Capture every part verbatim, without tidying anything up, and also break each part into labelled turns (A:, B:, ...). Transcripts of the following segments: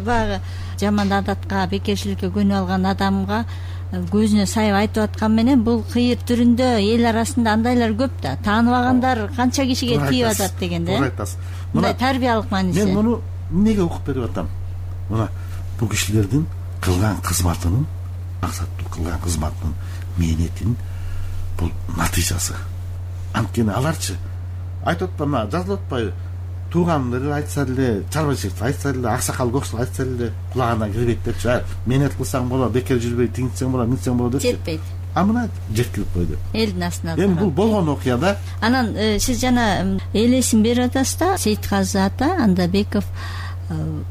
A: баягы жаман адатка, бекерчиликке көнүп алган адамга көзүнө сайып айтып аткан менен бул кыйыр түрүндө эл арасында андайлар көп да. Тааныбагандар канча кишиге тийип атат дегенде.
B: Туура айтасыз.
A: Мындай тарбиялык мааниси.
B: Мен муну эмнеге окуп берип атам? Мына бул кишилердин кылган кызматынын, максаттуу кылган кызматынын мээнетинин бул натыйжасы. Анткени аларчы айтып атпаймы, жазылып атпайбы? Туугандары айтса эле, чарбачылык айтса эле, аксакал көксөл айтса эле кулагына кирбейт депчи. Мээнет кылсаң болот, бекер жүрбөй тиңитсең болот, мынтсең болот депчи.
A: Жетпейт.
B: А мына жеткирип койду.
A: Элдин астына.
B: Эми бул болгон окуя да.
A: Анан сиз жана элесин берип атасыз да, Сейитказы ата Андабеков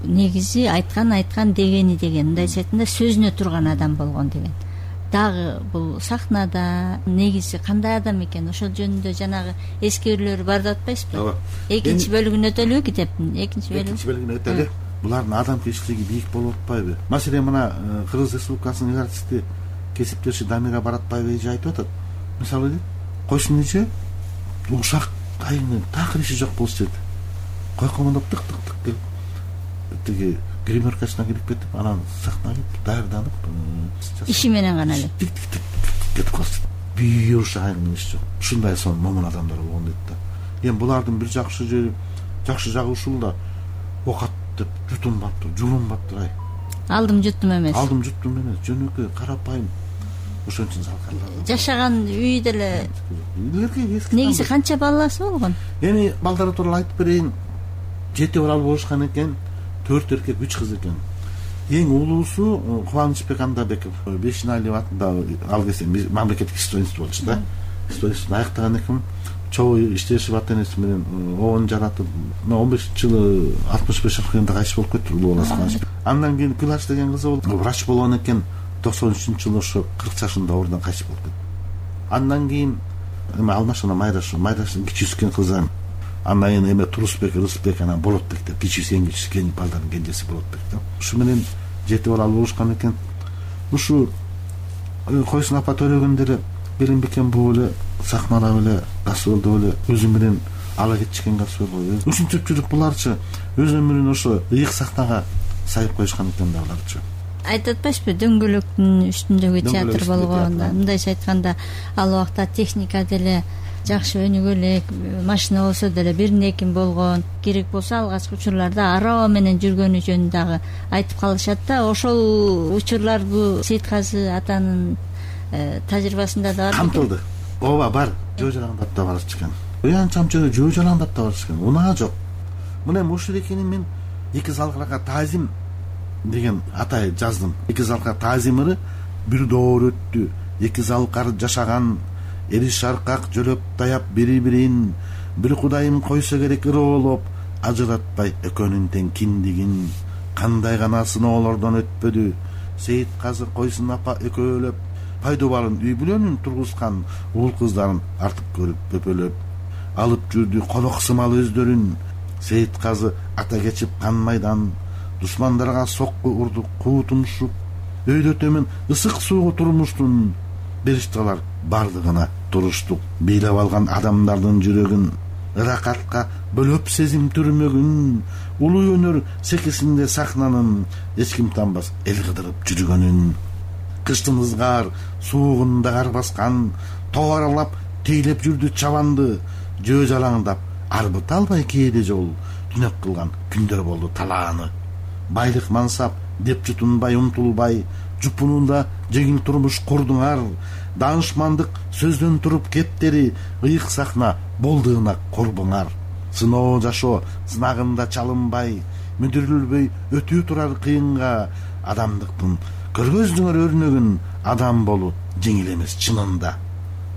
A: негизи айткан айткан дегени деген. Мындайча айтканда сөзүнө турган адам болгон деген. Дагы бул сахнада негизи кандай адам экен, ошол жөнүндө жанагы эскерүүлөр бар деп атпайсызбы?
B: Ооба.
A: Экинчи бөлүгүн өтөлүбү китептин? Экинчи бөлүгү.
B: Экинчи бөлүгүн өтөлү. Булардын адамгерчилиги бийик болуп атпайбы? Маселен мына Кыргыз Республикасынын артисти кесиптеши Дамира Баратбаева эже айтып атат. Мисалы койсун эже ушак айыны такыр иши жок болчу дейт. Койкомондоп тык тык тык келип тиги гримеркасына кирип кетип, анан сахнага даярданып
A: иши менен гана эле
B: тик тик тик кетип калды. Бий ушак айыны иши жок. Ушундай сон момун адамдар болгон дейт да. Эми булардын бир жакшы жери, жакшы жагы ушул да. Окат деп жутунбаптыр, жулунбаптыр ай.
A: Алдым жуттум эмес.
B: Алдым жуттум эмес, жөнөкөй карапайым. Ошон үчүн залкарлар.
A: Жашаган үй деле. Негизи канча баласы болгон?
B: Эми балдары тууралуу айтып берейин. Жети балалы болушкан экен, төрт эркек, үч кыз экен. Эң улуусу Кубанычбек Андабеков, Бешиналиев атындагы ал кезде мамлекеттик студент болчу да. Студентти аяктаган экен. Чоң иштешип ата-энеси менен оон жаратып, он бешинчи жылы алтымыш беш жашында кайтыш болуп кетти, улуу баласы. Андан кийин Күлаш деген кызы болду. Врач болгон экен. токсон үчүнчү жылы ошо кырк жашында оорудан кайтыш болуп кетти. Андан кийин эме Алмашына Майраш, Майраштын кичүүсү кызы. Андан кийин эме Турусбек, Рысбек, анан Болотбек деп кичүүсү эң кичүүсү кен балдардын кенжеси Болотбек деп. Ушу менен жети балалы болушкан экен. Ушу Койсун апа төлөгөндөр Белин Бекен бул эле сахнада эле гастролдо эле өзү менен ала кетишкен гастрол. Ушунчалык буларчы өз өмүрүн ошо ыйык сахнага сайып коюшкан экен да буларчы.
A: Айтып атпайсызбы, дөңгөлөктүн үстүндөгү театр болгон. Мындайча айтканда ал убакта техника деле жакшы өнүгө элек, машина болсо деле бирин экин болгон. Керек болсо алгачкы учурларда араба менен жүргөнү жөнүндө дагы айтып калышат да. Ошол учурлар бул Сейитказы атанын тажрыйбасында да бар.
B: Камтылды. Ооба, бар. Жөө жалаңдап да барчу экен. Уян чамчыгы жөө жалаңдап да барчу экен. Унаа жок. Мына ушул экени мен эки залкарга таазим деген атай жаздым. Эки залкар таазимыры бир доор өттү. Эки залкар жашаган, эри шаркак жөлөп таяп бири-бирин, бир кудайым койсо керек ыроолоп, ажыратпай экөөнүн тең киндигин. Кандай гана сыноолордон өтпөдү. Сейитказы Койсун апа экөөлөп пайдубалын үй бүлөнүн тургузган уул кыздарын артып көрүп пөпөлөп алып жүрдү конок сымал өздөрүн. Сейитказы ата кечип кан майдан, душмандарга сокку урду куутумушуп, өйдө төмөн ысык суугу турмуштун беришталар бардыгына туруштук. Бийлеп алган адамдардын жүрөгүн, ыракатка бөлөп сезим түрмөгүн, улуу өнөр секисинде сахнанын эч ким танбас эл кыдырып жүргөнүн. Кыштын ызгар суугунда кар баскан, тоо аралап тейлеп жүрдү чабанды, жөө жалаңдап арбыт албай кээде жол түнөк кылган күндөр болду талааны. Байлык мансап деп жутунбай умтулбай, жупунунда жеңил турмуш курдуңар, даанышмандык сөздөн туруп кептери, ыйык сахна болдуына корбуңар. Сыноо жашоо сынагында чалынбай, мүдүрүлбөй өтүү турар кыйынга, адамдыктын көргөзүңөр өрнөгүн, адам болуу жеңил эмес чынында.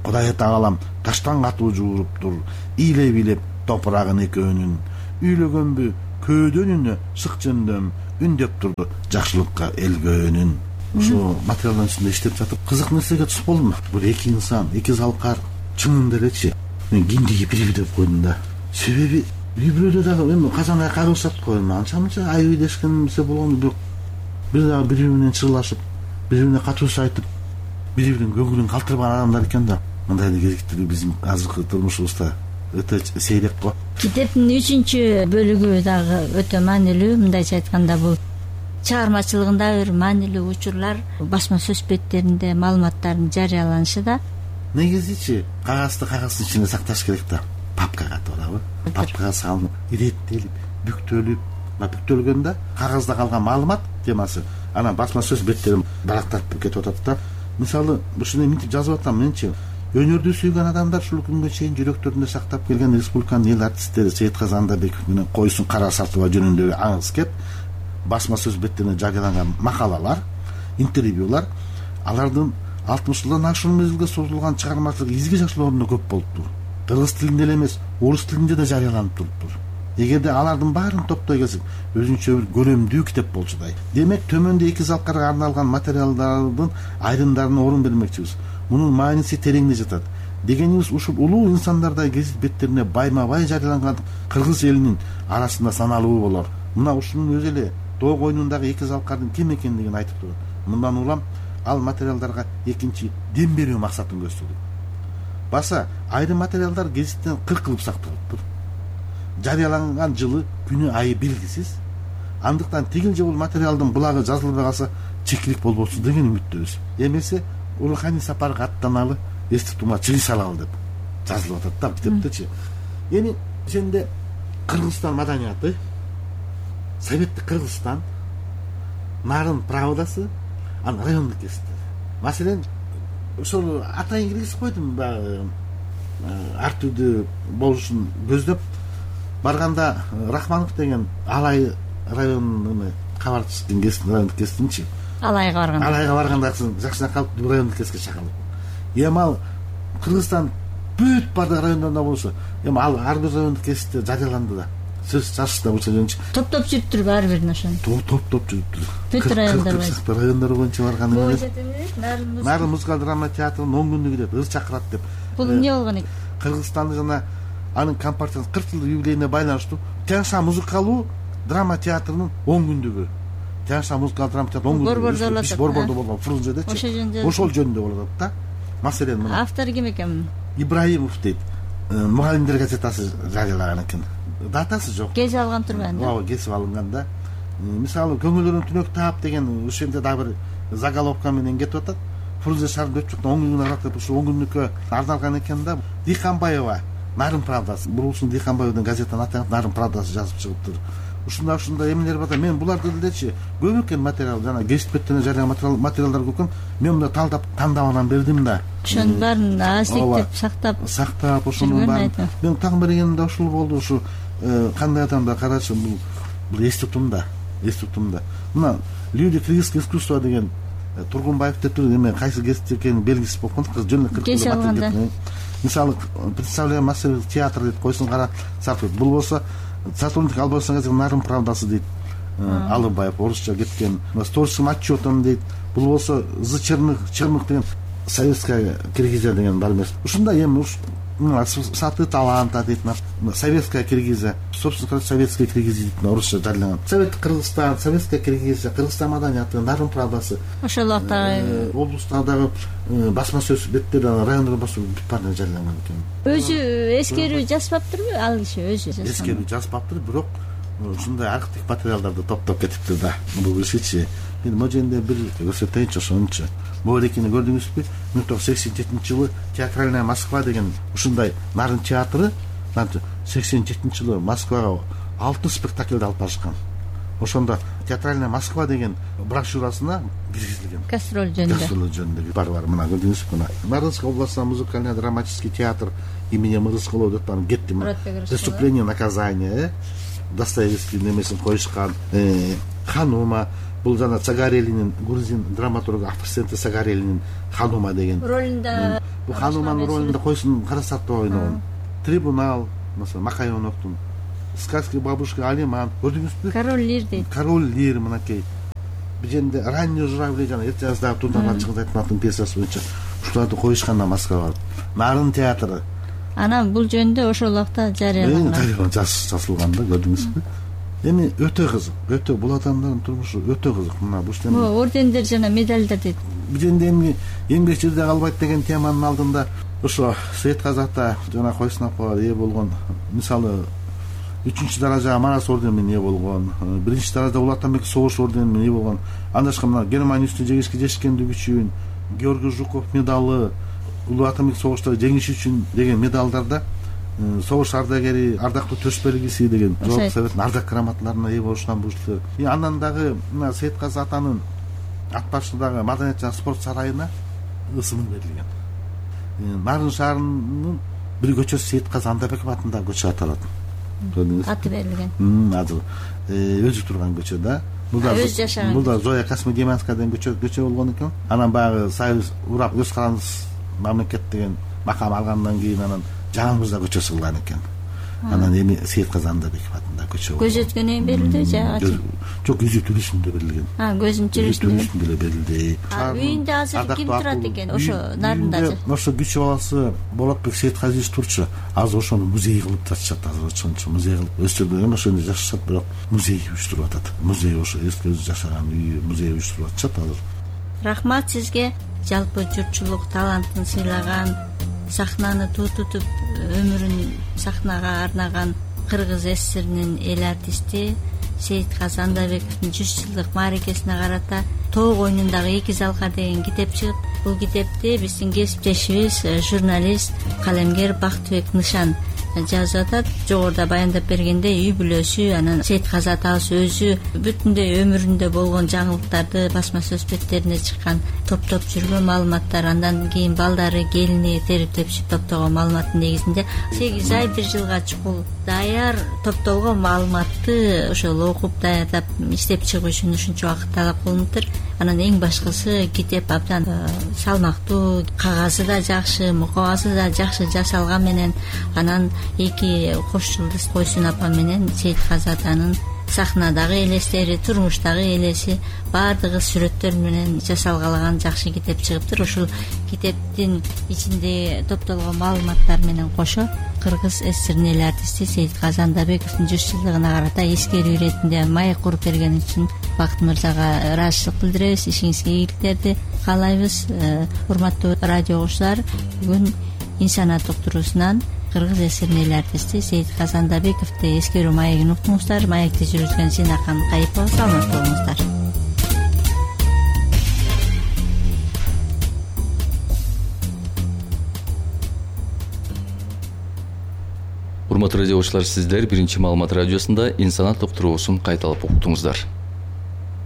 B: Кудай Тағалам таштан катуу жууруптур, ийлеп-ийлеп топурагын экөөнүн, үйлөгөнбү көөдөнүнө шык жөндөм, үндөп турду жакшылыкка элгөөнүн. Ушу материалдын үстүндө иштеп жатып кызык нерсеге туш болдум. Бул эки инсан, эки залкар чынында элечи мен киндиги бири деп койдум да. Себеби үй бүлөдө дагы эми качан кайрылышат го, анча-мынча айып дешкенсе болгон бирок бир дагы бири менен чырлашып, бири бирине катуушу айтып, бири биринин көңүлүн калтырбаган адамдар экен да. Мындай керектүү биздин азыркы турмушубузда өтө сейрек го. Китептин үчүнчү бөлүгү дагы өтө маанилүү. Мындайча айтканда бул
A: чыгармачылыгында бир маанилүү учурлар басма сөз беттеринде маалыматтардын жарыяланышы да.
B: Негизичи кагазды кагаздын ичинде сакташ керек да. Папкага туурабы? Папкага салынып, иреттелип, бүктөлүп, бүктөлгөндө кагазда калган маалымат темасы анан басма сөз беттерин барактатып кетип атат да. Мисалы, ушуну мынтип жазып атам менчи. Өнөрдү сүйгөн адамдар ушул күнгө чейин жүрөктөрүндө сактап келген республиканын эл артисттери Сейитказы Андабеков менен Койсун Карасатова жөнүндө аңыз кеп басма сөз беттеринде жарыяланган макалалар, интервьюлар алардын алтымыш жылдан ашуун мезгилге созулган чыгармачылык изги жашоолорунда көп болуптур. Кыргыз тилинде эле эмес, орус тилинде да жарыяланып туруптур. Эгерде алардын баарын топтой келсек, өзүнчө бир көлөмдүү китеп болчудай. Демек, төмөндө эки залкарга арналган материалдардын айрымдарына орун бермекчибиз. Мунун мааниси тереңде жатат. Дегенибиз, ушул улуу инсандардай гезит беттерине байма-бай жарыяланган кыргыз элинин арасында саналуу болор. Мына ушунун өзү эле тоо койнундагы эки залкардын ким экендигин айтып турат. Мындан улам ал материалдарга экинчи дем берүү максатын көздөрдүк. Баса, айрым материалдар гезиттен кыр кылып сакталыптыр. Жарыяланган жылы, күнү, айы белгисиз. Андыктан тигил же бул материалдын булагы жазылбай калса чекилик болбосун деген үмүттөбүз. Эмесе Урухани сапарга аттаналы, эстик тума чыгыш алалы деп жазылып атат да китептечи. Эми ошенде Кыргызстан маданияты, Советтик Кыргызстан, Нарын правдасы, анан райондук гезиттер. Маселен, ошол атайын киргизип койдум баягы ар түрдүү болушун көздөп барганда Рахманов деген Алай районунун кабарчысынын гезитин, райондук гезитинчи.
A: Алайга барганда.
B: Алайга барганда жакшына калып райондук гезитке чакырылып. Эми ал Кыргызстан бүт бардык райондорунда болсо, эми ал ар бир райондук гезитте жарыяланды да. Сөз жазышта болсо жөнчү.
A: Топ-топ жүрүптүр баары бирин ошону.
B: Топ-топ жүрүптүр.
A: Бүт райондар боюнча.
B: Райондар боюнча барган эмес.
A: Нарын
B: Нарын музыкалык драма театрынын он күндүгү деп ыр чакырат деп.
A: Бул эмне болгон экен?
B: Кыргызстанда жана анын компартиясынын кырк жылдык юбилейине байланыштуу Тянша музыкалуу драма театрынын он күндүгү. Тянша музыкалык драма театры он күндүгү. Борбордо болгон Фрунзедечи.
A: Ошол жөнүндө.
B: Ошол жөнүндө болот да. Маселен мына.
A: Автору ким экен?
B: Ибраимов дейт. Мугалимдер газетасы жарыялаган экен. Датасы жок.
A: Кесип алган турбайбы?
B: Ооба, кесип алынган да. Мисалы, көңүлдөрүн түнөк таап деген ошенде да бир заголовка менен кетип атат. Фрунзе шаарында өтүп жаткан он күндүн аралыкта ушул он күндүккө арналган экен да. Диханбаева, Нарын правдасы. Бурулсун Диханбаевдин газетанын аты Нарын правдасы жазып чыгыптыр. Ушундай ушундай эмелер бар да. Мен буларды делечи көп экен материал, жана гезит беттерине жарыялаган материалдар көп экен. Мен мында талдап, тандап анан бердим да.
A: Ошонун баарын азиктеп, сактап,
B: сактап ошонун баарын. Мен таң бергенде ушул болду, ушу кандай адамдар карачы, бул бул эститутумда, эститутумда. Мына люди кыргызское искусство деген Тургунбаев деп туруп, эме кайсы гезит экенин белгисиз болгон кыз жөн эле. Мисалы, представляем массовый театр дейт, Койсун Карасатов. Бул болсо сотрудник Албанстан газети Нарын правдасы дейт. Алыбаев орусча кеткен. С творческим отчетом дейт. Бул болсо З Черных, Черных деген советская Киргизия деген бар эмес. Ушундай эми саты таланта дейт, советская Киргизия, собственно, советская Киргизия дейт, орусча жарыяланган. Советтик Кыргызстан, советская Киргизия, Кыргызстан маданияты, Нарын правдасы.
A: Ошол убакта
B: облустардагы басма сөз беттери, райондор басуу бүт баары жарыяланган экен.
A: Өзү эскерүү жазбаптырбы ал киши өзү?
B: Эскерүү жазбаптыр, бирок ушундай архив материалдарды топтоп кетиптир да. Бул кишичи. Мен могу жерде бир көрсөтөйүнчү ошончу. Могулекини көрдүңүзбү? миң тогуз жүз сексен жетинчи жылы театральная Москва деген ушундай Нарын театры сексен жетинчи жылы Москвага алты спектакльди алып барышкан. Ошондо театральная Москва деген брошюрасына киргизилген.
A: Гастроль жөнүндө.
B: Гастроль жөнүндө бар бар. Мына көрдүңүзбү? Мына Нарынская областная музыкально-драматический театр имени Мырыскулова деп барып кеттим. Преступление, наказание, Достоевский немесин коюшкан, Ханума. Бул жана Цагарелинин, грузин драматургу Афрсенте Цагарелинин Ханума деген
A: ролунда.
B: Бул Хануманын ролунда Койсун Карасатова ойногон. Трибунал, mesela Макаёновдун, Сказки бабушки Алиман, көрдүңүзбү? Король Лир дейт. Король Лир мынакей. Бир жерде ранний журавли жана эрте жаздагы Турдан чыгып айтмактын пьесасы боюнча ушуларды коюшканда Москвага. Нарын театры. Анан
A: бул жөнүндө ошол убакта жарыяланган.
B: Жарыяланган жазылган да, көрдүңүзбү? Эми өтө кызык, өтө бул адамдардын турмушу өтө кызык. Мына бул жерде
A: ордендер жана медалдар дейт.
B: Бул жерде эми эмгек жерде калбайт деген теманын алдында ошо Сейитказы ата жана Койсун апа ээ болгон, мисалы үчүнчү даража Марас орденине ээ болгон, биринчи даража Улуу Атамбек согуш орденине ээ болгон. Анда башка мына Германия үстүнө жеңишке жетишкендиги үчүн Георгий Жуков медалы, Улуу Атамбек согушта жеңиши үчүн деген медалдарда согуш ардагери, ардактуу төш белгиси деген Жогорку Советтин ардак грамоталарына ээ болушунан буюшту. И андан дагы мына Сейитказы атанын ат башындагы Маданият жана спорт сарайына ысымы берилген. Нарын шаарынын бир көчөсү Сейитказы Андабеков атындагы көчө аталат.
A: Аты берилген.
B: Азыр өзү турган көчө да. Мында
A: өз жашаган.
B: Мында Зоя Касмедемянская деген көчө көчө болгон экен. Анан баягы Союз урап өз караңыз мамлекет деген макам алгандан кийин анан Жаңы Мырза көчөсү кылган экен. Анан эми Сейитказы Андабеков атындагы көчө.
A: Көз өткөнөн берилди же?
B: Жок, көзү түбүсүндө берилген.
A: А, көзүнүн түбүсүндө
B: деле берилди.
A: Үйүндө азыр ким турат экен? Ошо Нарындачы.
B: Ошо кичи баласы Болотбек Сейитказыевич турчу. Азыр ошону музей кылып жатышат, азыр ошончо музей кылып өстүргөн, ошондо жашашат, бирок музей уюштуруп атат. Музей ошо эски өзү жашаган үйү музей уюштуруп атышат азыр.
A: Рахмат сизге. Жалпы журтчулук талантын сыйлаган, сахнаны туу тутуп өмүрүн сахнага арнаган Кыргыз ССРинин эл артисти Сейитказы Андабековдун жүз жылдык мааракесине карата Тоок оюнундагы эки залкар деген китеп чыгып, бул китепти биздин кесиптешибиз журналист, калемгер Бактыбек Нышан жазып атат. Жогоруда баяндап бергенде үй бүлөсү, анан Сейитказы атабыз өзү бүтүндөй өмүрүндө болгон жаңылыктарды басма сөз беттерине чыккан, топтоп жүргөн маалыматтар, андан кийин балдары, келини терип тепшип топтогон маалыматтын негизинде сегиз ай бир жылга чукул даяр топтолгон маалыматты ошол окуп даярдап иштеп чыгуу үчүн ушунча убакыт талап кылыныптыр. Анан эң башкысы китеп абдан салмактуу, кагазы да жакшы, мукабасы да жакшы жасалган менен, анан эки кош жылдыз Койсун апа менен Сейитказы атанын сахнадагы элестери, турмуштагы элеси баардыгы сүрөттөр менен жасалгалаган жакшы китеп чыгыптыр. Ушул китептин ичинде топтолгон маалыматтар менен кошо Кыргыз ССРинин эл артисти Сейитказы Андабековдун жүз жылдыгына карата эскерүү иретинде маек куруп берген үчүн Бакыт мырзага ыраазычылык билдиребиз, ишиңизге ийгиликтерди каалайбыз. Урматтуу радио угуучулар, бүгүн инсаният уктуруусунан Кыргыз ССРинин эл артисти Сейитказы Андабековду эскерүү маегин уктуңуздар. Маекти жүргүзгөн Зинакан Кайыпова. Саламат болуңуздар.
C: Урматтуу радио угуучулар, сиздер биринчи маалымат радиосунда инсаният уктуруусун кайталап уктуңуздар.